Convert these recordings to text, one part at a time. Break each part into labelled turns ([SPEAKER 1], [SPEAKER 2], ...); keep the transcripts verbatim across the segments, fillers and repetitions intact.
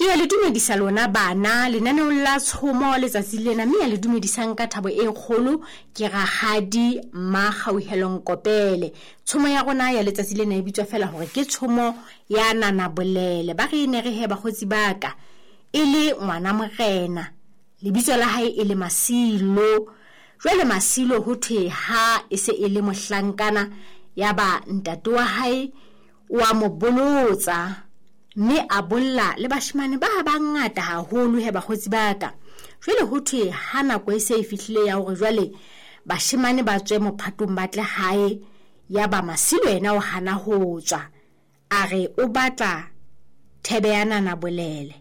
[SPEAKER 1] Ke ya le dumedisa lona bana lenaneong la tshomo letsatsi lena, mme ya le dumedisang ka thabo e kgolo ke Rakgadi Mmakgauhelo Nkopele. Tshomo ya rona ya letsatsi lena e bitswa fela hore ke tshomo ya Nana Bolele. Ba re ne re he bakgotsi ba ka, e le ngwana morena, lebitso la hae e le Masilo. Jwale Masilo ho thwe ha e se e le mohlankana, ya ba ntate wa hae wa mo bolotsa, mme a bolla le bashemane ba bangata haholo he bakgotsi ba ka. Jwale ho thwe ha nako e se e fihlile ya hore jwale bashemane ba tswe mophatong ba tle hae, ya ba Masilo yena o hana ho tswa, a re o batla thebe ya Nana Bolele,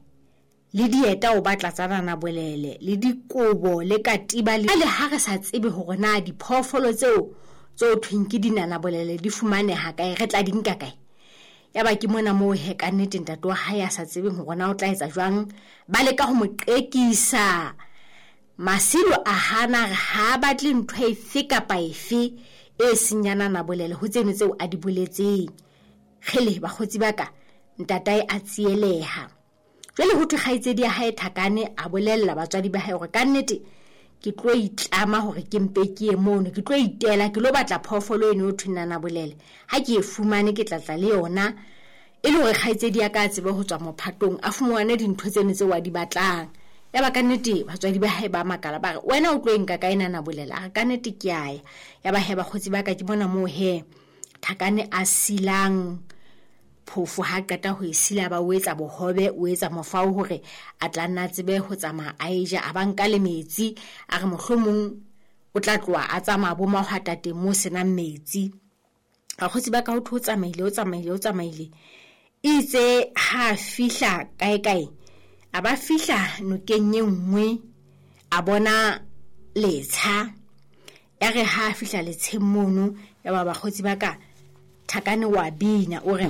[SPEAKER 1] le dieta o batla tsa Nana Bolele, le dikobo le katiba. Le ha re sa tsebe hore na diphoofolo tseo tse thweng ke dinana bolele di fumaneha kae, re tla di nka kae. Ya ba ke mona moo he ka nnete ntate wa hae a sa tsebeng hore na o tla etsa jwang, ba leka ho mo qekisa. Masilo a hana, re ha batle ntho efe kapa efe e seng ya Nana Bolele ho tseno tseo a di boletseng. Kgele bakgotsi ba ka, ntatae a tsieleha. Jwale ho thwe kgaitsedi ya hae Thakane a bolella batswadi ba hae hore ka nnete ke tlo itlama hore ke mpe ke ye mono, ke tlo itela, ke lo batla phoofolo eno ho thweng Nana Bolele. Ha ke e fumane ke tla tla le yona, e le hore kgaitsedi ya ka a tsebe ho tswa mophatong, a fumane dintho tseno tseo a di batlang. Ya ba ka nnete batswadi ba hae ba makala, ba re wena o tlo e nka kae Nana Bolele? A re ka nnete ke a ya. Ya ba he bakgotsi ba ka, ke bona moo he Thakane a silang phofo, ha qeta ho e sila ba o etsa bohobe, o etsa mofao hore a tla nna tsebe ho tsamaya a e ja, a ba nka le metsi, a re mohlomong o tla tloha a tsamaya bo mahwatateng mo senang metsi. Bakgotsi ba ka, ho thwe o tsamaile, o tsamaile, o tsamaile, itse ha fihla kae kae, a ba fihla nokeng e nngwe, a bona letsha. Ya re ha fihla letsheng mono, ya ba bakgotsi ba ka, Thakane wa bina o re: